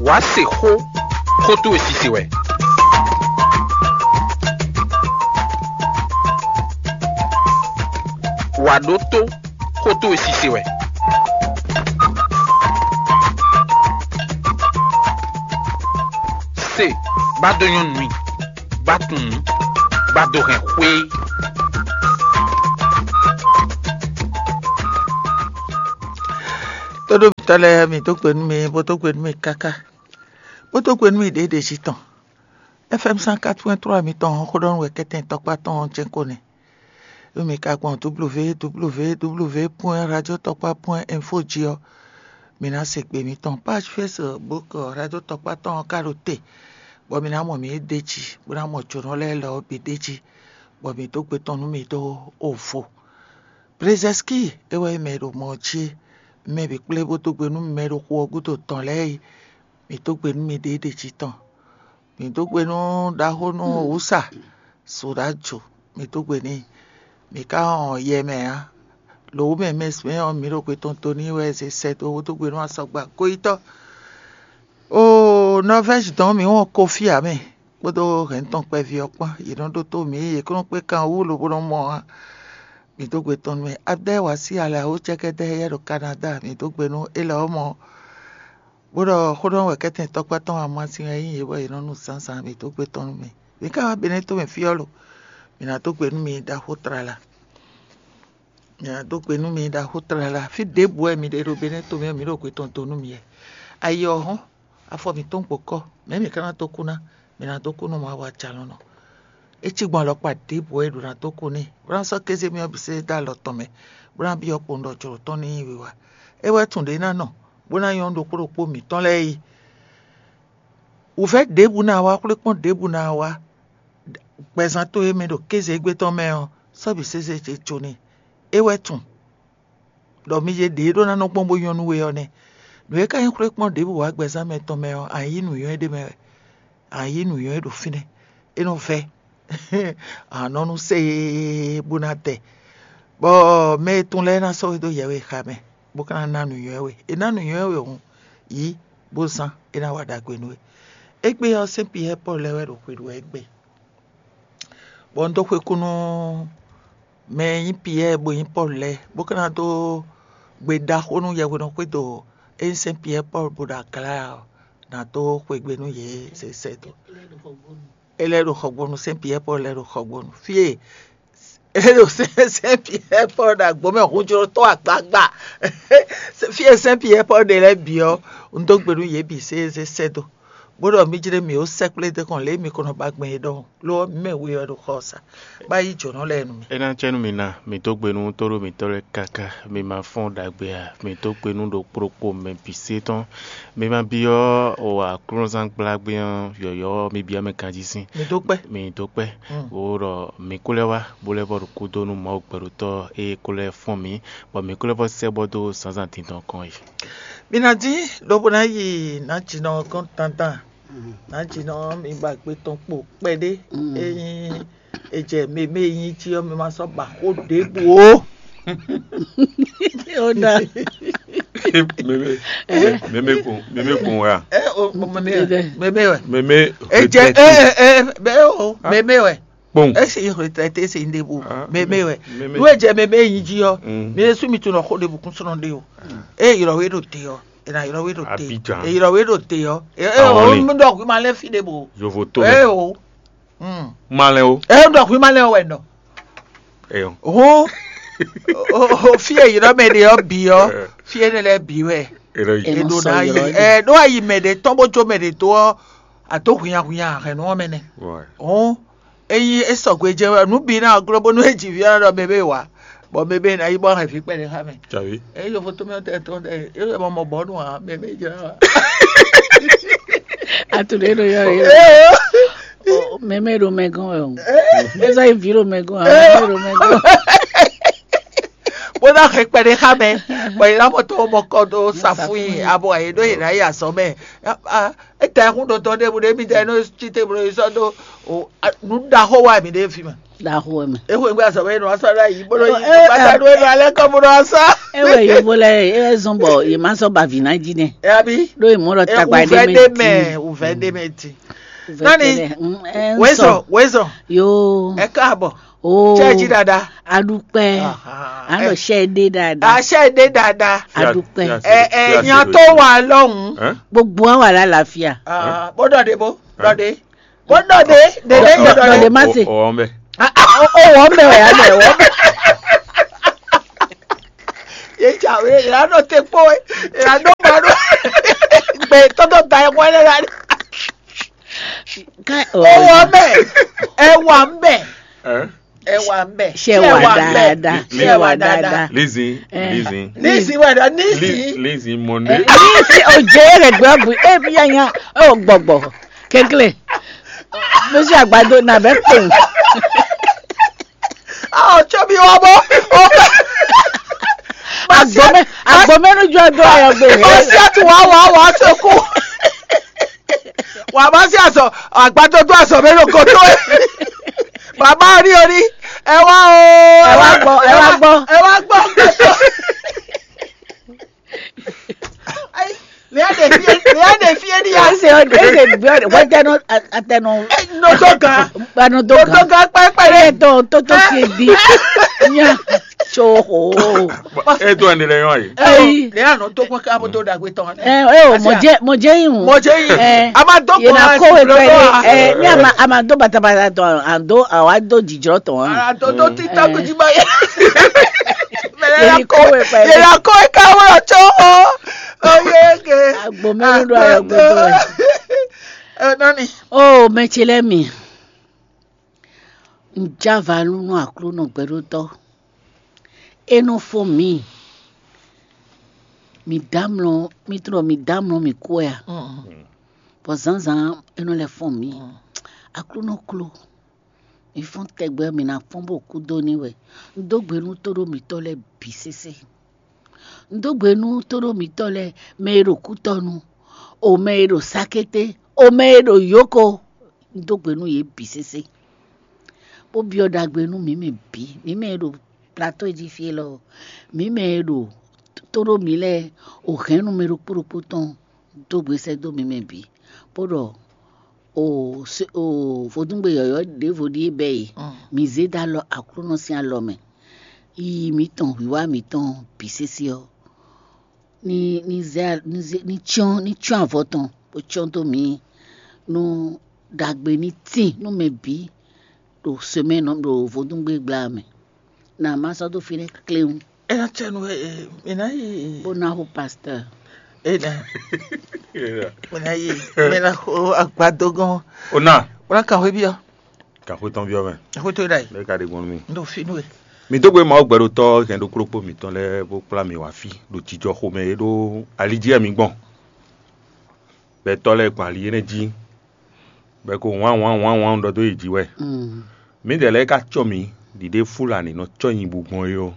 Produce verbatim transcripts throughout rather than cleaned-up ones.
Wǎ se xó, xó towe sise wɛ. Wǎ ɖótó, xó towe sise wɛ. Se, bá dó nyɔ́ nú mì, bá tunwun, bá dó hɛn xwé. Tóɖómitɔ́ lɛ́ɛ, mǐ dó gbe nú mi, bó dó gbe nú mi káká, bó dó gbe nú mi ɖěɖě jí tɔn. F M cent quatre point trois mitɔn ɔ́, xó ɖɔ nú wɛ kɛ́tɛn tɔkpá tɔn ɔ́ jɛ́n ko nɛ́. Ɖó mi ka gbɔn W W W W point radio tɔkpá point info jí ɔ́, mi ná se gbe mitɔn. Page Facebook Radio Tɔkpá tɔn ɔ́ ka ɖo te, bɔ mi ná mɔ mǐ ɖ'é jí, bó ná mɔ jǒnɔ lɛ́ɛ lɔ ɔ́ bǐ ɖ'é jí, bɔ mǐ dó gbe tɔn nú mi dó ovo. Brezɛ́ski é wɛ nyí mɛ e ɖo mɔ ɔ́ jí é. Mɛ bǐ kplé bó dó gbe nú mɛ e ɖo xu ɔ́ gúdo tɔn lɛ́ɛ é. Mǐ dó gbe nú miɖée ɖě jí tɔn. Mǐ dó gbe nú ɖaxó nú wǔsa Soɖajo, mǐ dó gbe n'i. Mǐ ka hɔn yɛ mɛ ǎ. Lǒ wú mɛ mɛ mɛ ɔ́, mǐ ɖo gbe tɔn dó n'i wɛ zě sɛ́ dó dó gbe nú asɔgba goyítɔ́. Oo, Nɔvɛ́zi dɔn mǐ wɔn Kofi ǎ mɛ kpódó hɛ̌n tɔn kpɛví ɔ́ kpán. Yě nɔ ɖótó mǐ, yě kó nɔ kpé kan wú lobo nɔ mɔ ǎ. Mǐ dó gbe tɔn nú mɛ. Abdɛ́ wá sí alɛ wú cɛ́kɛ́dɛ́ éyɛ́ ɖo Kanadá, mǐ dó gbe nú élɔ́ mɔ. Bó ɖɔ xó ɖɔ wɛ kɛ́tɛn tɔkpá tɔn amasin wɛ nyí yě bɔ yě nɔ nu zǎnzǎn mǐ dó gbe tɔn nú mì. Mǐ ka wá Benɛ́to mɛ fí ɔ́ lo? Mǐ ná dó gbe nú mi ɖaxó tlala. Mǐ ná dó gbe nú mi ɖaxó tlala. Fí ɖěbǔ wɛ mi ɖe ɖo Benɛ́to mɛ, mǐ ɖo gbe tɔn dó nú mi wɛ. Ayi ɔ́ hɔ́n, afɔ mǐtɔn gbokɔ, mɛ̌ mǐ ka ná dó kú ná? Mǐ ná dó kú nú Mawu Ajalɔ̌nlɔn. É cí gbɔn alɔkpa ɖěbǔ wɛ è ɖǒ ná dó kú n'i, bó ná sɔ́ kéze mì ɔ́ bǐ sésé dó alɔ tɔn mɛ, bó ná byɔ́ kpowun ɖɔ jlǒ tɔn ní nyí wiwa. É wɛ tunwun ɖě ná nɔ, bó ná nyɔ́ nú ɖokpó ɖokpó mǐtɔn lɛ́ɛ yi. Wǔvɛ́ ɖěbǔ ná wá, xwlékpɔ́n ɖěbǔ ná wá, gbɛzán towe mɛ ɖo kéze égbé tɔn mɛ ɔ́, sɔ́ bǐ sésé ce jó n'i. É wɛ tunwun ɖɔ mi yě ɖě ɖó ná nɔ gbɔn bó nyɔ́ nú we ɔ́ nɛ́. Nǔ e ka nyí xwlékpɔ́n ɖěbǔ wá gbɛzán mɛ tɔn mɛ ɔ́, a nǐ yí nǔnywɛ́ ɖé mɛ wɛ. A nǐ yí nǔnywɛ́ ɖo fínɛ́. É nɔ vɛ́. A nɔ nú sée bó ná tɛ. Bɔ mɛ e tun lɛ́ɛ ná sɔ́ we dó yɛ̌we xa mɛ, bó ka ná ná nǔnywɛ́ we. È ná nǔnywɛ́ we hǔn, yǐ, bó zán, é ná wa ɖagbe nú we. Égbé ɔ́, sɛ́n Piyɛ́ɛ Pɔ́lu lɛ́ɛ wɛ ɖo xwe ɖu wɛ égbé. Bɔ un dó xwekú nú mɛ e nyí Piyɛ́ɛ bo nyí Pɔ́lu lɛ́ɛ, bó ka ná dó gbe ɖaxó nú yɛhwenɔ xwédo e nyí sɛ́n Piyɛ́ɛ Pɔ́lu bo ɖo aglá ɔ́, ná dó xwegbe nú yě zɛ sɛ́ dó. É lɛ́ ɖo xɔgbónu, sɛ́n Piyɛ́ɛ Pɔ́lu lɛ́ ɖo xɔgbónu. Fí e é ɖo sɛ́n Piyɛ́ɛ Pɔ́lu ɖo agbǒ mɛ hunjlotɔ́ agbagba. Fí e sɛ́n Piyɛ́ɛ Pɔ́lu ɖe lɛ́ɛ bǐ ɔ́, un dó gbe nú yě bǐ sésé sɛ́ dó, bó ɖɔ mí jlé mǐ ó sɛkplé dó kɔn lě e mi ko nɔ ba gbɛn é ɖɔhun. Lo ɔ́, mǐ mɛ we wɛ ɖo xɔ ɔ́ sa, bó ná yí jǒnɔ lɛ́ɛ nú mi. É ná cɛ nú mi ná, mi dó gbe nú tóɖó mǐtɔn lɛ́ɛ káká, mi ma fɔ́n ɖagbe ǎ, mi dó gbe nú ɖokpó ɖokpó mɛ bǐ sé tɔn. Mi ma byɔ́ o aklúnɔzán gblágbé ɔ́ yɔ̌yɔ́, mi byɔ́ mɛ ganjí sín. Mi dó kpɛ́. Mi dó kpɛ́. Wo ɖɔ mi kó lɛ́ wá, bó lɛ́ vɔ ɖo kúdó nú Mawu gbɛɖotɔ́ e kó lɛ́ fɔ́n mǐ, bɔ mi kó lɛ́ vɔ sɛ́ bɔ dó zǎnzǎn dindɔn kɔn yi. Mi ná dín, lobo ná yi nǎjínɔ gɔ́n dandan. Nǎjínɔ, mi ba gbe tɔn kpo kpɛɖé. Ényí è jɛ mɛ e nyí jí ɔ́, mi ma sɔ́ ba xó ɖěbǔ ó. Ó ɖa. Mɛmɛ mɛmɛ kun mɛmɛ kun wa. Ɛ o mɛmɛ wɛ. Mɛmɛ wɛ. Mɛmɛ. È jɛ ɛ ɛ ɛ o mɛmɛ wɛ. Kpɔn. Esi retraité si n ɖebu. Mɛmɛ wɛ. Nú è jɛ mɛmɛ nyí jí ɔ́, mi ɖésú mi tunɔ xó ɖebu kún sɔnɔ ɖe o. Eye ylɔ we ɖo te ɔ́, è nà ylɔ we ɖo te. Abidjan. È ylɔ we ɖo te ɔ́. Ɛ ɛ o mi ɖɔ hwi ma lɛ fi ɖe bo. Yovo to mɛ. Ɛ o. Malɛ o. Ɛ ɖɔ hwi ma lɛ wɛ nɔ. Eyɔ. Ho. O fi e ylɔ mɛ ɖe ɔ́ bi ɔ́, fi e ne lɛ bi wɛ. Eyɔ yi. È ɖo ná yi. Ɛ ɖo ayi mɛ ɖe tɔn bó jó mɛ ɖe dó ɔ́, àtó hwinya hwinya hɛn nú ɔ́ mɛ nɛ. Why? Hɔn eyi e sɔgbe jɛ wɛ nǔ bi ná glɔ́ bónú e ji vǐ ɔ́ ɖɔ mɛ bɛ wá, bɔ mɛ bɛ ná yi bɔ hɛn vǐ kpɛɖé xá mɛ. Tsavi. Eyi yofo tó mɛ tɛ tɔn tɛ e yɔ mɔ bɔ nù hã mɛ bɛ jɛ wá. Atu ɖe ɖo yɔ yɔ. Mɛmɛ ɖo mɛ gɔn wɛ o. Eza yi vi ɖo mɛ gɔn, mɛmɛ ɖo mɛ gɔn. Bó É ná hɛn kpɛɖé xá mɛ, bɔ yě ná mɔ tó mɔ kɔ dó safúnyi abɔ yě ɖó yě ná yi azɔ̌ mɛ. Étɛ́ hún ɖotɔ́ ɖěbǔ ɖé mì tɛ nɔ cí te bló yi sɔ́ dó nǔ ɖaxó wá mì ɖé fi mɛ. Ɖaxó wɛ mɛ. É xwé gbé azɔ̌ mɛ é nɔ wá sɔ́ ɖó ayǐ bó nɔ yi gbàtà ɖó é nɔ alẹ́ kɔ bó nɔ wá sá. É wɛ yovo lɛ é wɛ zɔn bɔ yě má sɔ́ ba vǐ ná jí nɛ. Ɛyá bí Ɖó yě mɔ ɖɔ tagba ɖé wùvẹ́ mɛ ɖé ti. Mɛ wùvẹ́ ɖé mɛ ti. Nani? Wezɔ wezɔ. Yo. Ɛ káàbọ̀. Oo. Ṣé ẹ jí dáadáa? Adúpẹ́. Aha, Àlọ́ ẹ- ṣe é dé dáadáa. Àṣẹ èdè dáadáa. Adúpẹ́. Ẹ ẹ yan tó wà lọ́hùn. Gbogbo wa wà lálàáfíà. Ah, bó dọ̀dé bó dọ̀dé bó dọ̀dé dèdè yẹn dọ̀dé. Dọ̀dé má se. Ọwọ́ ń bẹ̀. Ó wọ́ mẹ́ wẹ̀ á mẹ́ wọ́ mẹ́. Yé tsa wé yàrá náà tẹ kpó wé yàrá náà máa ró gbé tọ́tọ́ da ẹ̀ wọ́n lẹ́la. Ó wọ́ mẹ́ ẹ wà ń bẹ̀. Ẹ wà ń bẹ̀. Ṣé wà dáadáa? Ṣé wà dáadáa? Lizzy, Lizzy. Lizzy wà dá Lizzy. Lizzy Monday. Lizzy òjé rẹ̀ gbọ́ bù ẹ bí yanya ó gbọ̀gbọ̀ kékeré. Mo ṣe àgbàdo nàbẹ́ pè. Ọ̀ tsobi wọ́n bọ́. Agbome agbome nu jọ do ayọ gbe. Ọsẹ tí wàá wàá wàá ṣokú. Wàá bá sí àṣọ àgbàdo tó àṣọ mi ló kó tó. Bàbá orí orí ẹ wá o. Ẹ wá gbọ́, ẹ wá gbọ́. Ẹ wá gbọ́. Léa ɖe fie léa ɖe fie ní ya. Ese ɔdɛ ese gbɛ ɔdɛ wajɛ nɔ atɛnɔ. Nɔtɔ gan. Gbanɔtɔ gan. Nɔtɔ gan pɛpɛ. Ɛ tɔ toto fie di. Nya tso ho. E to ɛni lɛ yɔn yi. Ɛyi. Léa nɔ tó kpɔn ká bó tó dàgbé tɔn. Ɛ ɛ o mɔjɛ mɔjɛ yi ŋu. Mɔjɛ yi. Ɛ a ma dó yena kɔn ko wɛ pɛlɛ ɛ ní a ma a ma dó batabata tɔn a dó a wa dó jijɔ tɔn. A dó dó tí tákùjí bá yẹ. Yena kɔn wɛ pɛlɛ. Yena kɔn wɛ ká wọ́n tó. Oyege. Agbomɛnu ɖo ayɔ gbogbo. Ɛ nani. O mɛ tsi lɛ mi. Un já va nú Aklúnɔ gbɛɖótɔ́. É nɔ fɔ́n mǐ. Mǐ dó amlɔ, mǐ tlɔ mǐ dó amlɔ mǐ kú wɛ a? Bɔ zǎnzǎn é nɔ lɛ́ fɔ́n mǐ. Aklúnɔ kló, mǐ fɔ́n tɛgbɛ, mǐ ná fɔ́n bó kú dó n'i wɛ. Un dó gbe nú tóɖó mǐtɔn lɛ́ɛ bǐ sésé. Un dó gbe nú tóɖó mǐtɔn lɛ́ɛ, mɛ e ɖo kútɔ́nu, o mɛ e ɖo sákété, o mɛ e ɖo yǒko. Un dó gbe nú yě bǐ sésé, bó byɔ́ ɖagbe nú mǐ mɛ bǐ, mǐ mɛ e ɖo plató e jí fí élɔ́, mǐ mɛ e ɖo tóɖó mǐ lɛ́ɛ, o hɛ̌nnu mɛ ɖokpó ɖokpó tɔn dó gbe sɛ́ dó mǐ mɛ bǐ, bó ɖɔ o vodúngbe yɔ̌yɔ́ ɖěvo ɖíe bɛ́ e, mǐ zé dó alɔ Aklúnɔ sín alɔ mɛ. Yiyi mǐtɔn, wǐwá mǐtɔn bǐ sésé ɔ́, ní ní zɛ ní zɛ ní cyɔ́n ní cyɔ́n avɔ tɔn bó cyɔ́n dó mǐ, nú ɖagbe ní tín nú mɛ bǐ ɖo semɛ́n ɖo vodúngbe gbla mɛ. Na má sɔ́ dó fínɛ́ kléwún. É ná cɛ nú ɛ ɛ mi ná yi. Bó ná xo pastɔ́. É ná mi ná yi mi ná xo agbadó gɔ́n. O ná. Bó ná kan xwé byɔ́. Kan xwé tɔn byɔ́ mɛ. Xwé tó ɖa yi. Bẹ́ẹ̀ ka ɖe gbɔn nú mi. N ɖo fínú ɛ. Mi dó gbe Mawu gbɛɖotɔ́ hɛn ɖokplókpó mǐtɔn lɛ́ɛ bó kplá mǐ wá fí ɖo jijɔxomɛ e ɖó ali jí wɛ mi gbɔn. Bɔ tɔ́ lɛ́ɛ gbɔn ali énɛ́ jí, bɔ é ko wǎn wǎn wǎn wǎn ɖɔ dó yě jí wɛ. Mǐdɛɛ lɛ́ɛ ka cɔ́ mǐ ɖiɖe Fulani nɔ cɔ́ nyi bú gbɔn é ɔ́,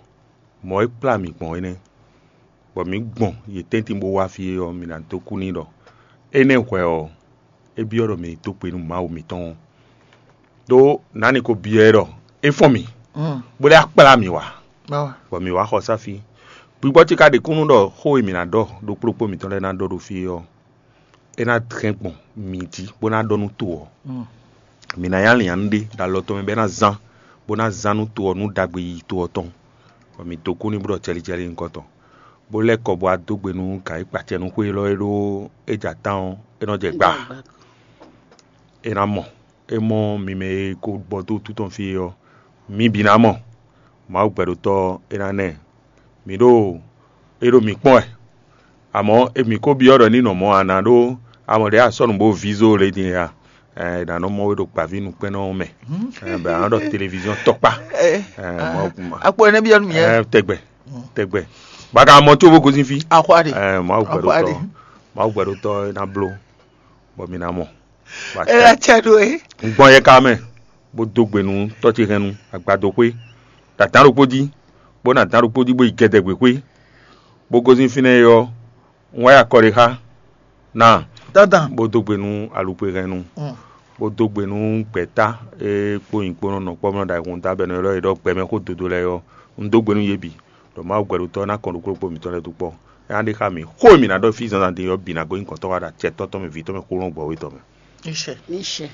mɔ̌ e kplá mǐ gbɔn é nɛ́, bɔ mǐ gbɔn yě tɛ́ntin bó wá fí é ɔ́, mi ná dó kú n'i ɖɔ énɛ́ hwɛ ɔ́, é byɔ́ ɖɔ mǐ ní dó gbe nú Mawu mǐtɔn ɔ́. Đó nǎni ko byɔ́ ɛ ɖɔ é fɔ́n mì, bó lɛ́ akplá mì wá, bɔ mǐ wá xɔ sá fí. Gbigbɔ ce ka ɖe kúnnu ɖɔ xó e mǐ ná ɖɔ ɖokplókpó mǐtɔn lɛ́ɛ ná ɖɔ ɖo fí é ɔ́, é ná hɛn gbɔn mǐ jí bó ná ɖɔ nú to ɔ́. Mǐ ná nyí alǐnnyánú ɖé ɖo alɔ tɔn mɛ bɔ é ná zán, bó ná zán nú to ɔ́ nú ɖagbe yiyi to ɔ́ tɔn, bɔ mǐ dó kú n'i bó ɖɔ cɛlícɛlí nyǐkɔ tɔn, bó lɛ́ kɔ bó wá dó gbe nú gǎn e kpa acɛ nú xwé élɔ́ e ɖó é jɛ atán ɔ́, é nɔ jɛ gba. É ná mɔ, é mɔ mi mɛ e ko gbɔ dó wútu tɔn fí é ɔ́, mi bǐ ná mɔ. Mawu gbɛɖotɔ́ ɔ́, é ná nɛ mǐ ɖo é ɖo mǐ kpɔ́n wɛ. Amɔ̌, e mǐ ko byɔ́ ɖɔ ní nɔ mɔ̌ a nǎ ɖó amɔ ɖě a sɔ́ nǔ bó vízó le din a? Ɛ, è nǎ nɔ mɔ we ɖo gbǎví nukpɛ́nnɔ ɔ́ mɛ. Ɛ, bɛ a nɔ ɖɔ televiziɔn tɔkpá. Ɛ, Mawu kuma. Akpɔ ɛnɛ byɔ́ nú mi yɛ. Ɛ, tɛgbɛ, tɛgbɛ. Baka mɔ tso bó gosín fí. Axwáɖe. Ɛ, Mawu gbɛɖotɔ́, Mawu gbɛɖotɔ́ ná bló, bɔ mi ná mɔ. Ɛ, acɛ ɖo é. Un gbɔn yɛ ka mɛ, bó dó gbe nú tɔ́ ce hɛn nu agbado xwé, tatan ɖokpó jí, bó ná dán ɖokpó jí bó yi gɛdɛgběxwé, bó gosín fínɛ́ é ɔ́, un wá yi akɔ ɖé xá ná, Dandan. Bó dó gbe nú alukpehɛnnu, bó dó gbe nú gbɛ̌ta e kpó nyǐkpónɔ nɔ kpɔ́ mlɔ́ ɖo ayihún da bɔ è nɔ ylɔ́ yě ɖɔ gbɛmɛ xó dodo lɛ́ɛ ɔ́, un dó gbe nú yě bǐ ɖɔ Mawu gbɛɖotɔ́ ɔ́ ná kɔn ɖokpó ɖokpó mǐtɔn lɛ́ɛ dó kpɔ́. É ná ɖe xá mǐ, xó e mǐ ná ɖɔ fí zǎnzǎn din ɔ́ bǐ ná gosín gɔ̌n tɔn wá ɖo acɛ tɔn tɔn mɛ, vǐ tɔn mɛ, xó lɔn gbɔ̌ wé tɔn mɛ. Iṣẹ́. Níṣẹ́.